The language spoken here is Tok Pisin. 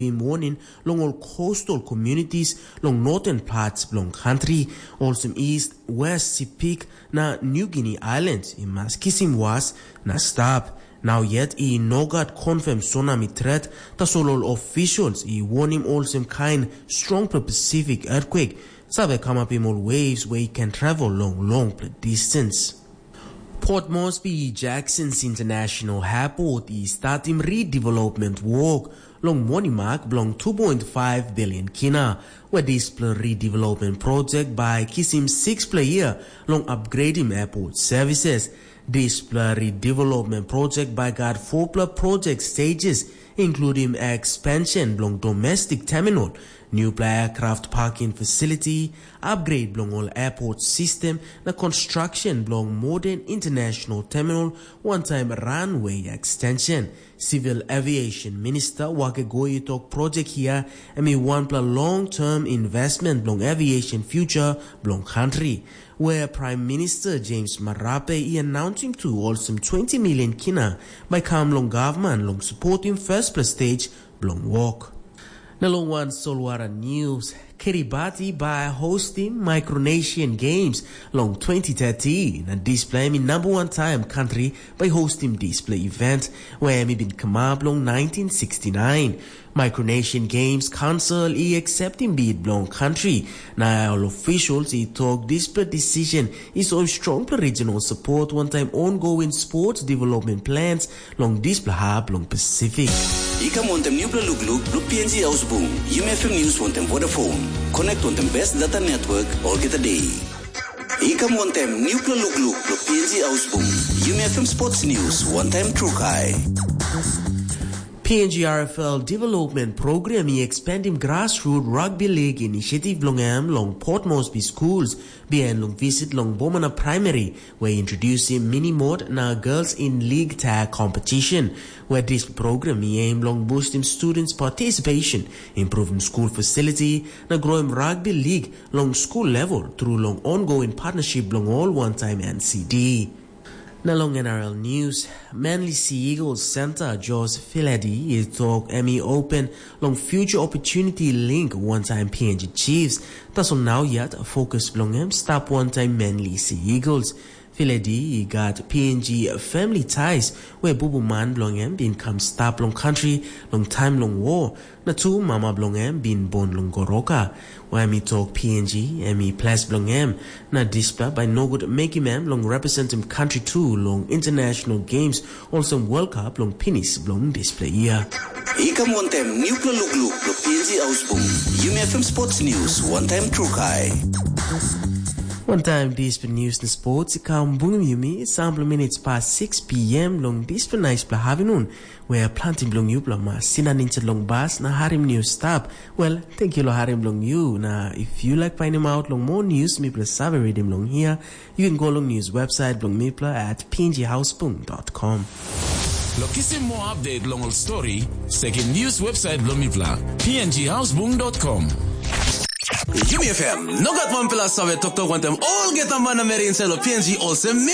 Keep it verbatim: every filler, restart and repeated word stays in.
givim warning long ol coastal communities long northern parts bilong country, olsem East, West Sepik na New Guinea Islands, i mas kisim was na stap. Nau yet i no gat confirm tsunami threat, tasol ol officials i warning olsem kain strong Pacific earthquake save kamapim ol waves wey i ken travel long long distance. Port Moresby Jackson's International Airport i statim redevelopment work long monimak bilong two point five billion kina, where dispela redevelopment project by kisim sixpela year long upgrading airport services. Dispela redevelopment project by got fourpela project stages, including expansion bilong domestic terminal, newpela aircraft parking facility, upgrade bilong ol airport system, na construction bilong modern international terminal, one time runway extension. Civil Aviation Minister Wakegoi tok project here, em i wanpela long-term investment bilong aviation future bilong country, where Prime Minister James Marape i announcing to olsem twenty million kina by kam long government long supporting first place stage bilong work. Na long wan solwara news, Kiribati by hosting Micronesian Games long twenty thirty, na dispela em i number one time country by hosting display event, where em i bin come up long nineteen sixty-nine. Micronesian Games Council i accepting bid bilong country. Na ol officials i tok dispela decision is of strong regional support one time ongoing sports development plans long dispela hap long Pacific. I kam wantem newpela lukluk bilong P N G Ausbung, Yumi F M News wantem Vodafone. Connect wantem best data network olgeta day. I kam wantem newpela lukluk bilong P N G Ausbung, Yumi F M Sports News wantem Trukai. P N G R F L Development Program i expandim grassroot rugby league initiative bilong em long Port Moresby schools, bihain long visit long Bomana Primary, where introducing mini mod na girls in league tag competition, where this program i aim long boosting students participation, improving school facility, na growing rugby league long school level through long ongoing partnership bilong all one time N C D. Na long N R L News, Manly Sea Eagles Center George Filadi i tok em i open long future opportunity link one time P N G Chiefs. Tasol nau yet focus bilong em stap one time Manly Sea Eagles. Filadi i gat P N G family ties, where bubu man bilong em bin kam stap long country long time long war, na tu mama bilong em bin born long Goroka. Where em i tok P N G em i ples bilong em, na dispela bai nogut mekim em long representim country tu long international games olsem World Cup long pinis bilong dispela year. I kam wantem newpela lukluk bilong P N G Ausbung, Yumi F M Sports News, one time Trukai. One time dispela news na sports i kam bungim yumi sampela minutes past six p.m. long dispela nice pela havinun, where planti bilong yupela mas sinan insait long bas na harim news stap. Well, thank you lo harim bilong you. Na if you like finding out long more news, mipela save reading long here, you can go long news website bilong mipela at pnghausbung.com. Lo kisim more update long ol story, sekim news website bilong mipela, pnghausbung.com. Yumi F M, no gat wanpela save toktok wantem olgeta manameri insait lo P N G olsem